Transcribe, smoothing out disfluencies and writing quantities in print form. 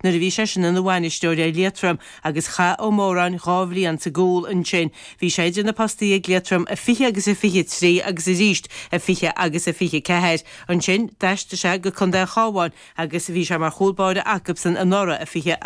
Nuair a bhí sé sin ina bhainisteoir ar Liatroim agus chaith Ó Móráin 2 bhliain sa gcúl ansin. Bhí sé idir na postaí ag Liatroim i 20 agus i 23 agus arís i 20 agus i 24. Ansin d'aistrigh sé go Contae an Chabháin agus bhí sé mar chúl báire acubsan anuraidh i 20.